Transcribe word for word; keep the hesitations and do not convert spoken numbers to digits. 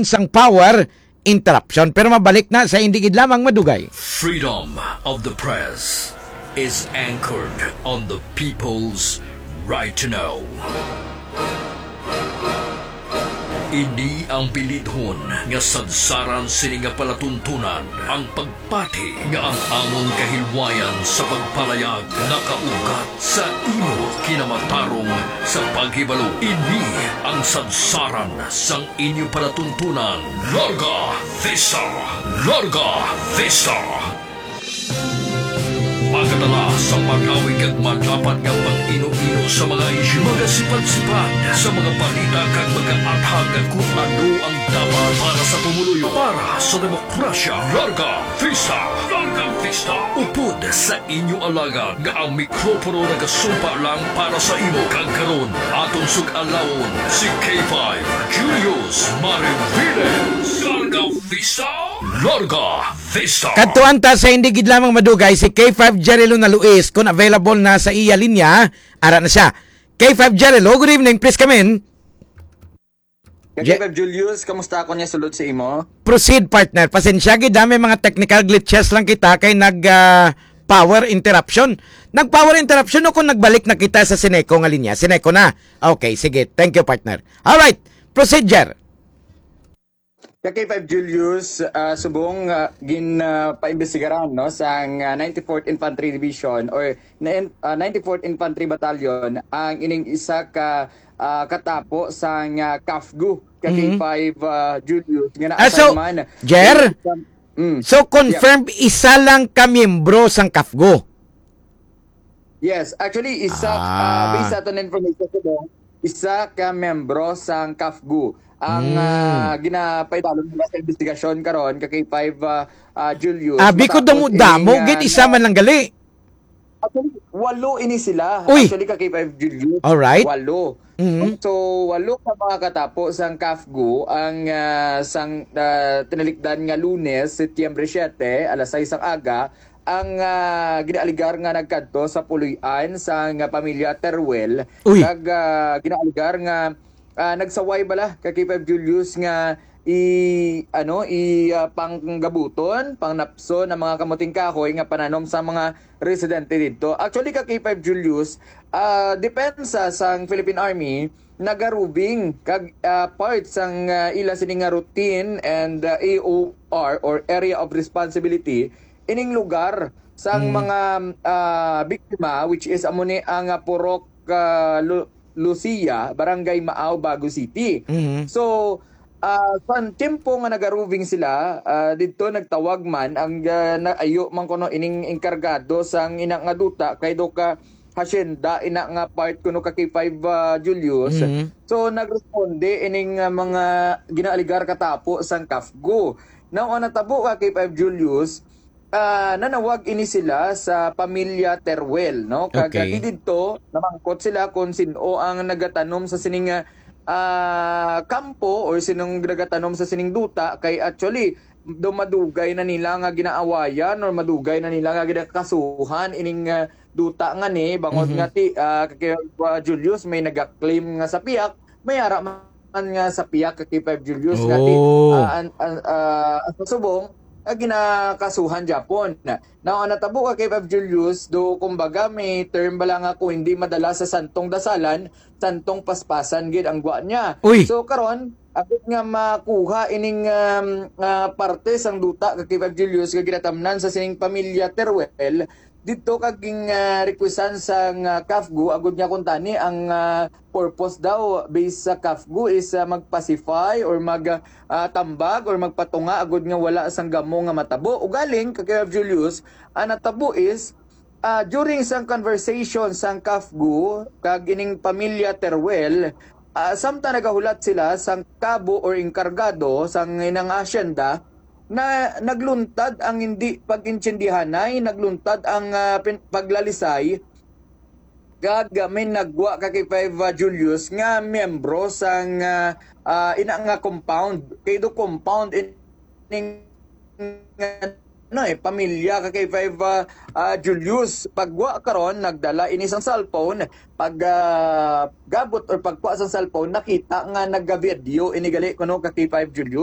sang power interruption. Pero mabalik na sa indi gid lamang madugay. Freedom of the press is anchored on the people's right to know. Ini ang bilidhon nga sadsaran sini nga palatuntunan, ang pagpati nga ang amon kahilwayan sa pagpalayag nakaugat sa imo kinamatarong sa paghibalo. Ini ang sadsaran sang inyo palatuntunan. Larga Vista! Larga Vista! Magadala sa pag-awig kag madapat nga pag-ino-ino sa mga isyu, magasipat-sipat sa mga balita kag magaathag kung ano ang dapat para sa pumuluyo, para sa demokrasya. Larga Vista! Larga Vista! Upod sa inyo alagad nga ang mikropono nagasumpa lang para sa imo. Kag karon, aton sug-alawon si K five Julius Mariviles. Larga Vista! Larga Vista! Kadtuan ta sa hindi gid lamang madugay si K five Jerry Luna Luis, kung available na sa iya linya, ara na siya. K five Jerry, hello, good evening, please come in. Ka-, Je- K five Julius, kamusta ako niya sulod sa imo? Proceed, partner. Pasensya gid, ah, may mga technical glitches lang kita kay nag, ah, power interruption. Nag-power interruption o kung nagbalik na kita sa Sineco nga linya? Sineco na. Okay, sige. Thank you, partner. All right. Procedure. Ka K five Julius, ah, subong, ah, gin, ah, paimbestigaran, no, sang, ah, ninety-fourth Infantry Division or na-, ah, ninety-fourth Infantry Battalion ang ining isa ka, ah, katapo sang, ah, CAFGU, ka Mhm. K five, ah, Julius, nga Ah, so, naa man Jer? sa, mm. So, Yeah. confirmed isa lang ka miyembro sang CAFGU? Yes, actually, isa, ah, Ah. based sa aton information, subong, isa ka miyembro sang CAFGU. Ang, Mm. ah, ginapaidalom nila sa investigasyon karon, ka K five, ah, ah, Julius, Abi ko matapos damo-damo, ini nga gid, isa na man lang gali. Actually, walo ini sila. Uy! Actually, ka K five Julius, Alright. walo. Mhm. So, walo ka mga katapo sang CAFGU ang, ah, sang, ah, tinalikdan nga Lunes, Setyembre siete, alas sais sang aga, ang, ah, ginaaligar nga nagkadto sa puloy-an sang pamilya Teruel. Uy. Kag, ah, ginaaligar nga, ah, nagsaway bala ka K five Julius nga i-, ano, i-, ah, panggabuton, pangnapson ang mga kamuting kahoy nga pananom sa mga residente didto. Actually, ka K five Julius, ah, depensa sang Philippine Army nagarubing kag, ah, part sang, ah, ila sini nga routine and, ah, A O R or area of responsibility ining lugar sang Mm. mga, ah, biktima, which is amo ni ang, ah, Purok, ah, Lu-, Lucia, Barangay Maao, Bago City. Mhm. So, ah, sa tiyempo nga nagarubing sila, ah, didto nagtawag man ang, ah, naayo man kuno ining enkargado sang ina nga duta kay do ka hacienda ina nga part kuno ka K five, ah, Julius. Mhm. So, nagresponde ining, ah, mga ginaaligar katapo sang CAFGU. Now, ang natabo ka K five Julius, ah, nanawag ini sila sa pamilya Teruel, no? Kag, Okay. ah, di didto, namangkot sila kung sin-o ang nagatanom sa sining, ah, kampo or sinong nagatanom sa sining duta. Kay actually, do madugay na nila nga ginaawayan or madugay na nila nga ginakasuhan ining, ah, duta nga ni, bangod Mhm. nga ti, ah, kay, ah, Julius may nagaklaim nga sa piyak, may ara man nga sa piyak ka K five Julius nga ti, Oh. ah, an-, an-, ah, sa subong, ah, ginakasuhan gyapon. Now, ang natabo ka K five Julius, do kumbaga may term bala nga kung hindi madala sa santong dasalan, santong paspasan gid ang gwa niya. Uy! So, karon, agud nga makuha ining, um, ah, parte sang duta ka K five Julius nga ginatamnan sa sining pamilya Teruel, didto kag ging, ah, requestan sang, ah, CAFGU, agud nga kuntani ang, ah, purpose daw based sa CAFGU is, ah, mag-pacify or mag, ah, tambag or magpatunga agud nga wala sang gamo nga matabo. Ugaling, ka Kuya Julius, ang natabo is, ah, during sang conversation sang CAFGU kag ining pamilya Teruel, ah, samtang nagahulat sila sang kabo or enkargado sang inang asyenda, na nagluntad ang hindi pag-intindihanay, nagluntad ang, ah, pin-, paglalisay, kag may nagwa ka K five, ah, Julius nga miyembro sang, ah, ah, ina nga compound. Kay do compound ining, ah, ano eh, pamilya ka K five, ah, ah, Julius. Pagwa karon, nagdala ini sang cellphone. Pag, ah, gabot or pagkuha sang cellphone, nakita nga nagavideo ini gali kuno ka K five Julius.